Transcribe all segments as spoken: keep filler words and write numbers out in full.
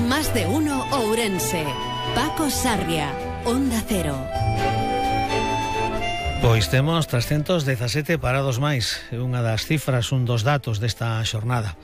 Más de uno Ourense. Paco Sarria, Onda Cero. Pois temos trescentos dezasete parados máis, é unha das cifras, un dos datos desta xornada.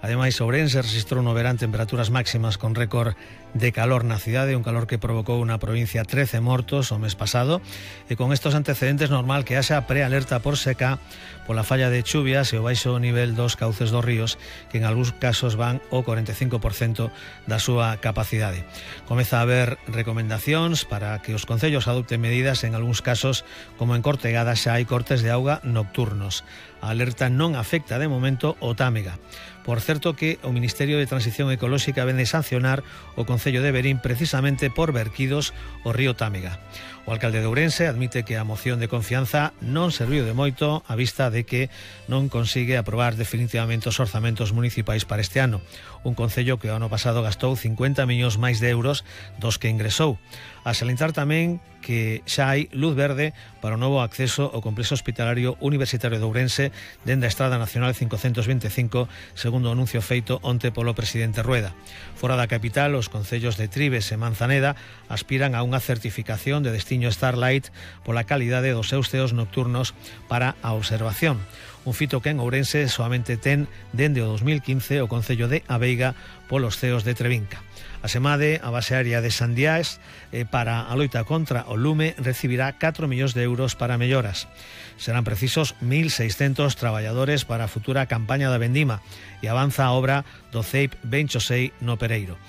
Ademais, Ourense registrou no verán temperaturas máximas con récord de calor na cidade, un calor que provocou na provincia trece mortos o mes pasado, e con estos antecedentes normal que haxa prealerta por seca pola falla de chuvias e o baixo nivel dos cauces dos ríos, que en algúns casos van ao cuarenta e cinco por cento da súa capacidade. Comeza a haber recomendacións para que os concellos adopten medidas, en algúns casos, como en Cortegada xa hai cortes de auga nocturnos. A alerta non afecta de momento o Támega. Por certo que o Ministerio de Transición Ecolóxica vende sancionar o Concello de Verín precisamente por verquidos o río Támega. O alcalde de Ourense admite que a moción de confianza non serviu de moito a vista de que non consigue aprobar definitivamente os orzamentos municipais para este ano. Un concello que o ano pasado gastou cincuenta millóns máis de euros dos que ingresou. A salientar tamén que xa hai luz verde para o novo acceso ao complexo hospitalario universitario de Ourense dende a Estrada Nacional cincocentos vinte e cinco, segundo o anuncio feito onte polo presidente Rueda. Fora da capital, os concellos de Trives e Manzaneda aspiran a unha certificación de destiño Starlight pola calidade dos seus ceos nocturnos para a observación. Un fito que en Ourense soamente ten dende o dos mil quince o concello de Aveiga polos ceos de Trevinca. A SEMADE, a base aérea de Sandiás, eh, para a loita contra o lume, recibirá catro millóns de euros para melloras. Serán precisos mil seiscentos traballadores para a futura campaña da vendima e avanza a obra do C E I P Benchosei no Pereiro.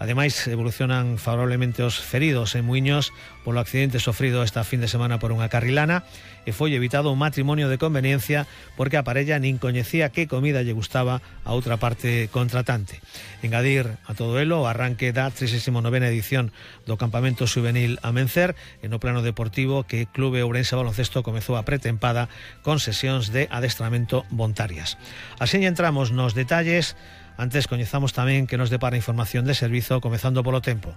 Ademais, evolucionan favorablemente os feridos en Muiños polo accidente sofrido esta fin de semana por unha carrilana e foi evitado un matrimonio de conveniencia porque a parella nin coñecía que comida lle gustaba a outra parte contratante. Engadir a todo elo o arranque da trigésima novena edición do campamento juvenil Amencer e no plano deportivo que Clube Ourense Baloncesto comezou a pretempada con sesións de adestramento voluntarias. Así entramos nos detalles. Antes coñezamos tamén que nos depara información de servizo comezando polo tempo.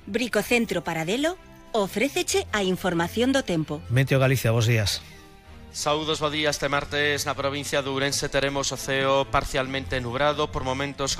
Bricocentro Paradelo ofréceche a información do tempo. Meteo Galicia, bos días. Saúdos, bo día. Este martes na provincia de Ourense teremos o ceo parcialmente nubrado, por momentos con